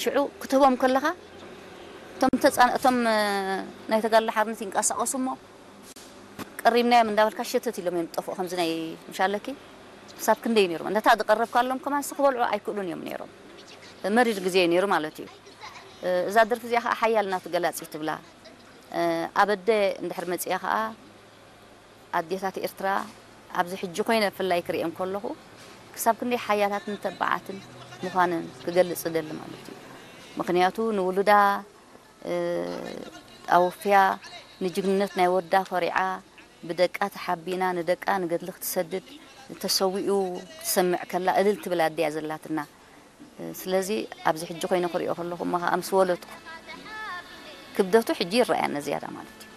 ሽዑ ክትህቦም ከለኻ እቶም ተፃን እቶም ናይ ተጋድሎ ሓርነት ይንቀሳቐሱ እሞ ቀሪብናዮም እንዳበልካ ሸተት ኢሎም እዮም ዝጠፍኡ። ከምዚ ናይ ምሻለኪ ክሳብ ክንደይ ነይሮም እንተታ ዝቀረብካሎም ከማን ክበልዑ ኣይክእሉን እዮም ነይሮም። መሪር ግዜ እዩ ነይሩ ማለት እዩ። እዛ ደርፊ እዚኣ ከዓ ሓያል ናቱ ገላፂ ትብላ። ኣብ ኣደ እንድሕር መፂኣ ከዓ ኣዴታት ኤርትራ ኣብዚ ሕጂ ኮይነ ብፍላይ ክርእየን ከለኹ ክሳብ ክንደይ ሓያላትን ተባዓትን ምዃነን ክገልጽ እደሊ ማለት እዩ። ምኽንያቱ ንውሉዳ ኣወፍያ ንጅግንነት ናይ ወዳ ኮሪዓ ብደቃ ተሓቢና ንደቃ ንገድሊ ክትሰድድ ተሰዊኡ ክትሰምዕ ከላ እልል ትብል ኣደ እያ ዘላትና። ስለዚ ኣብዚ ሕጂ ኮይነ ክሪኦ ከለኹ እሞ ከዓ ምስ ወለድኩ ክብደቱ ሕጂ ይረኣየኒ ዝያዳ ማለት እዩ።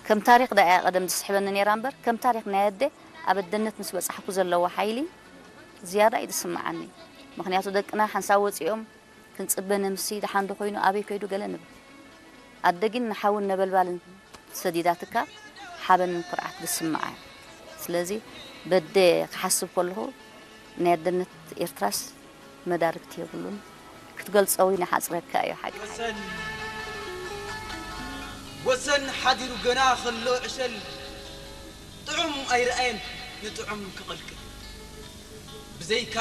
ከም ታሪኽ ዳኣ እያ ቀደም ዝስሕበኒ ነይራ እምበር ከም ታሪኽ ናይ ኣደ ኣብ ኣደነት ምስ በጻሕኩ ዘለዎ ሓይሊ ዝያዳ እዩ ዝስምዓኒ። ምኽንያቱ ደቅና ሓንሳብ ወጺኦም ክንጽበ ነምሲ ደሓን ዶ ኮይኑ ኣበይ ከይዱ ገለ ንብል። ኣደ ግን ንሓውን ነበልባልን ሰዲዳትካ ሓበንን ኩርዓት ዝስምዓ እያ። ስለዚ በደ ክሓስብ ከለኹ ናይ ኣደነት ኤርትራስ መዳርግቲ የብሉን። ክትገልጾ እውን ይሓጽረካ እዩ ሓቂ። ወሰን ሓዲሩ ገና ከሎ ዕሸል ጥዑም ኣይረኣየን ንጥዑም ክቐልቅል ብዘይካ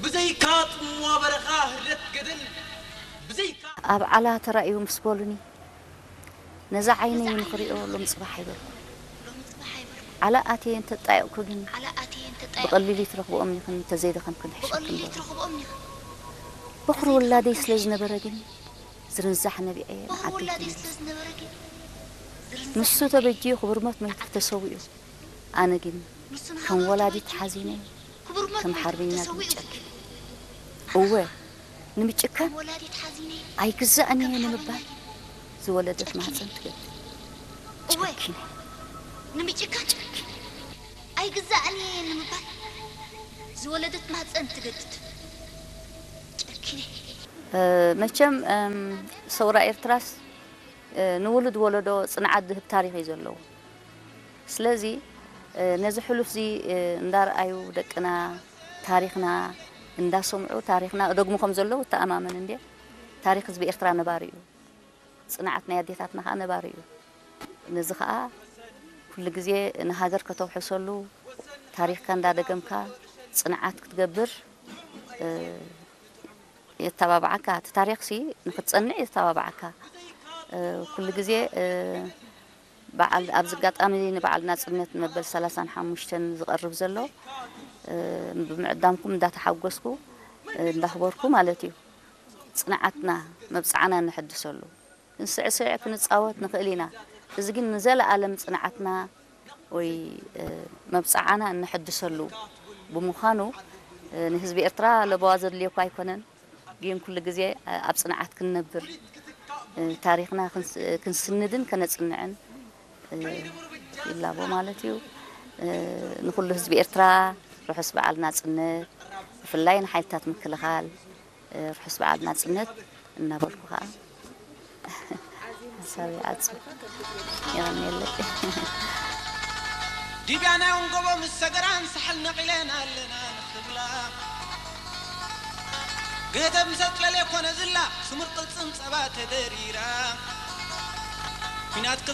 ብዘይካ ጽምዋ በረኻ ህለት ገደል ብዘይካ ኣብ ዓላ ተራእዩ ምስ በሉኒ ነዛ ዓይነይ ንኽሪኦ ሎም ጽባሕ ኣይበልኩ። ዓላ ኣትየ እንተጣየቕኩ ግን ብቐሊሉ ይትረኽብኦም ኢኽን እንተዘይደኸምክን ሕሸክን በሉ። በኹሪ ውላደይ ስለ ዝነበረ ግን ዝርንዛሕ ነቢዐ ንዓደይ ተመሊሰ። ንሱ ተበጅዩ ክቡር ሞት መይቱ ተሰዊኡ። ኣነ ግን ከም ወላዲት ሓዚነ ከም ሓርበኛ ግን ጨኪነ። እወ ንምጭካን ኣይግዛእን እየ ንምባል ዝወለደት ማህፀን ትገድድ። ጨኪነ። ንምጭካን ኣይግዛእን እየ ንምባል ዝወለደት ማህፀን ትገድድ። ጨኪነ። መቸም ሰውራ ኤርትራስ ንውሉድ ወለዶ ጽንዓት ዝህብ ታሪኽ እዩ ዘለዎ። ስለዚ ነዚ ሕሉፍ እዚ እንዳረኣዩ ደቅና ታሪኽና እንዳሰምዑ ታሪኽና እደግሙ ከም ዘለዉ እተኣማመን እንድየ። ታሪኽ ህዝቢ ኤርትራ ነባሪ እዩ። ጽንዓት ናይ ኣዴታትና ከኣ ነባሪ እዩ። ነዚ ከኣ ኩሉ ግዜ ንሃገር ከተውሕሰሉ ታሪኽካ እንዳደገምካ ጽንዓት ክትገብር የተባብዓካ። እቲ ታሪኽሲ ንክትጸንዕ የተባብዓካ። ኩሉ ግዜ በዓል ኣብዚ ኣጋጣሚ ንበዓል ናጽነት መበል ሰላሳን ሓሙሽተን ዝቐርብ ዘሎ ብምዕዳምኩም እንዳተሓጎስኩ እንዳኽበርኩ ማለት እዩ። ጽንዓትና መብጽዓና ነሐድሰሉ። ክንስዕስዕ ክንጻወት ንኽእል ኢና። እዚ ግን ንዘለኣለም ጽንዓትና ወይ መብጽዓና እነሐድሰሉ ብምዃኑ ንህዝቢ ኤርትራ ለበዋ ዘድልዮ እኳ ኣይኮነን። ግን ኩሉ ግዜ ኣብ ጽንዓት ክንነብር ታሪኽና ክንስንድን ከነጽንዕን ይላቦ ማለት እዩ። ንኹሉ ህዝቢ ኤርትራ ርሑስ በዓል ናጽነት፣ ብፍላይ ንሓይልታት ምክልኻል ርሑስ በዓል ናጽነት እናበልኩ ከዓ ሓሳብ ይዓጽ። የቐንየለይ። ዲብያ ናይ ወንጎቦ ምስ ሰገራን ሳሕል ነቒለን ኣለና ንኽብላ ገተብ ምሰጥ ለሌ ኮነ ዝላ ስሙር ቅልጽም ጸባ ተደሪራ ኲናት ክልተ